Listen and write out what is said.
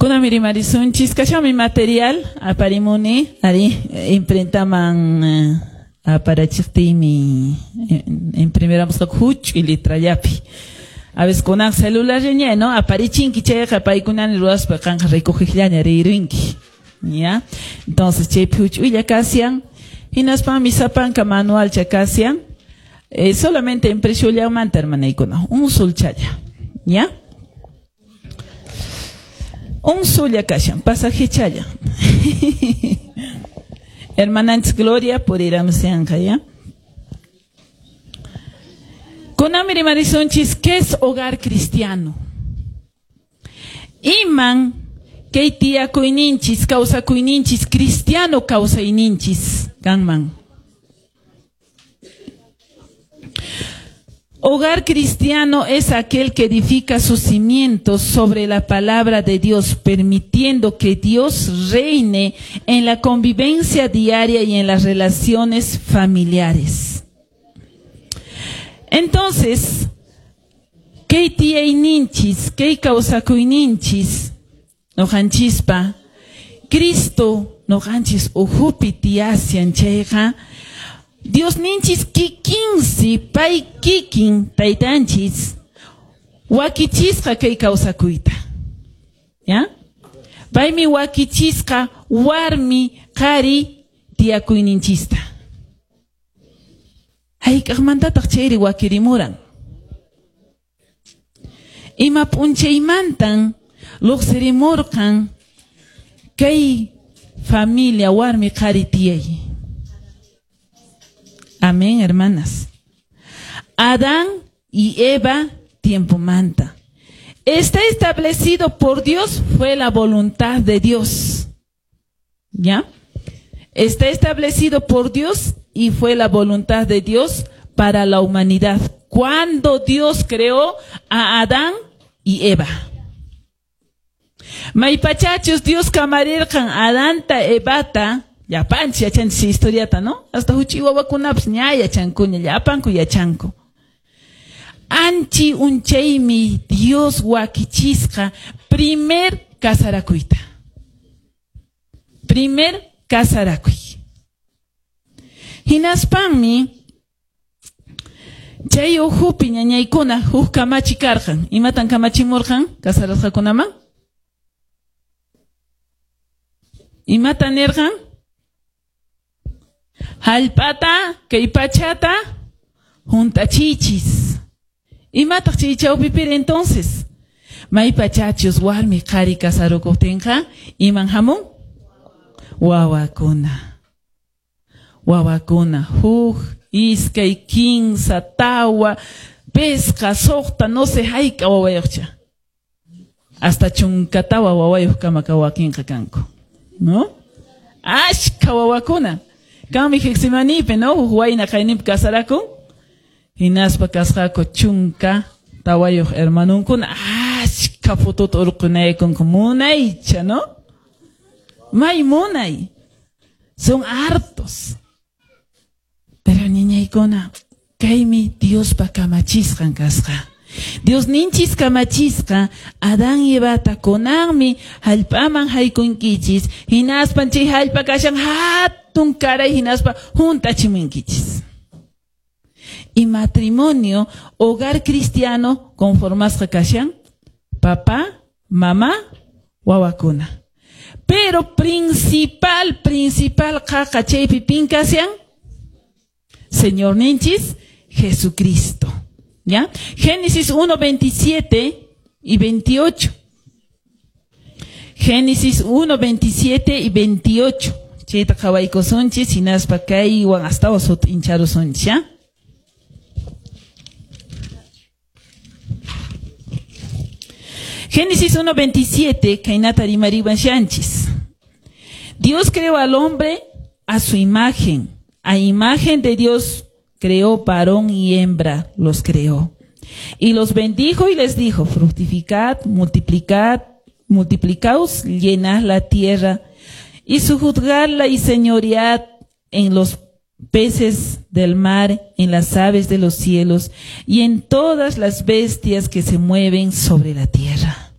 Kunanmi rimarisunchis kashanmi material aparimuni ari imprentaman aparachiqtiymi imprimirapusqaku huch'uy letrallapi. A veces kunan celularllaña, ¿no? Aparichinki chayqa paykunani ruwaspa qanqa recogeqllaña riyrunki. ¿Ya? Entonces chaypi huch'uylla kashan, hinaspami sapanka manualcha kashan. Solamente impresionllamanta hermanaykuna, un sulchalla. ¿Ya? Un sulla kashan, pasajechalla. Hermananchis Gloria puriramusyanqa, ¿ya? Kunanmi rimarisunchis, ¿qué es hogar cristiano? Iman kay tiyakuyninchis, kawsakuyninchis, cristiano kawsayninchis kanman. Hogar cristiano es aquel que edifica sus cimientos sobre la palabra de Dios, permitiendo que Dios reine en la convivencia diaria y en las relaciones familiares. Entonces, kay tiyayninchis, kay kawsakuyninchis, noqanchispa, Cristo noqanchis uhupi tiyasyan chayqa, Dios ninchis kikinsi, pay kikin taytanchis, wakichisqa kay kawsakuyta. ¿Ya? Paymi wakichisqa warmi qhari tiyakuyninchista. Hayk'aqmantataq chayri wakirimuran? Ima p'unchaymantan luqsirimurqan kay familia warmi qhari tiyay? Amén, hermanas. Adán y Eva tiempomanta. Está establecido por Dios, fue la voluntad de Dios. ¿Ya? Está establecido por Dios y fue la voluntad de Dios para la humanidad. Cuando Dios creó a Adán y Eva. Maypachachus Dios kamarirqan Adanta Evata, llapanchis yachanchis historiata, ¿no? Hasta huch'uy wawakunapas ña yachankuña, llapanku yachanku. Anchi unchaymi Dios wakichisqa primer kasarakuyta. Primer kasarakuy. Hinaspanmi chay uhupi ñañaykuna huk kamachi karqan. Imatan kamachimurqan kasarasqakunaman? Imatan nirqan? Hallp'ata, kay pachata hunt'achiychis. Imataq chay chawpipiri entonces? Maypachachus warmi qhari kasarukuqtinqa iman hamun? Wawakuna. Wawakuna, huk, iskay, kinsa, tawa, pesqa, suqta, no sé hayk'a wawayuqcha. Hasta chunkatawa wawayuq kama wakinqa kanku, ¿no? Ashka wawakuna. Kanmi Getsemanípi, ¿no? Huk wayna qayninpi kasarakun. Hinaspa kasqaku chunka tawayuq hermanunkuna. Ashka fotuta urqunaykunku munaycha, ¿no? May munay. Son hartos. Pero niñaykuna, kaymi Diospa kamachisqan kasqa. Dios ninchis kamachisqa Adán y Evata kunanmi hallp'aman haykunkichis, hinaspan chay hallp'a kashan hatun karay hinaspa juntachimunkichis. Y matrimonio, hogar cristiano conformasqa kashan papá, mamá, wawakuna. Pero principal qaqa chaypi pin kashan Señor ninchis Jesucristo. ¿Ya? Génesis 1, 27 y 28. Génesis 1, 27 y 28. Chayta qhawaykusunchis, hinaspa kaywan astawan sut'incharusunchis, ¿ya? Génesis 1, 27, kaynata rimariwan shanchis. Dios creó al hombre a su imagen. A imagen de Dios creó, varón y hembra los creó. Y los bendijo y les dijo, fructificad, multiplicad, multiplicaos, llenad la tierra y sujuzgadla y señoread en los peces del mar, en las aves de los cielos y en todas las bestias que se mueven sobre la tierra.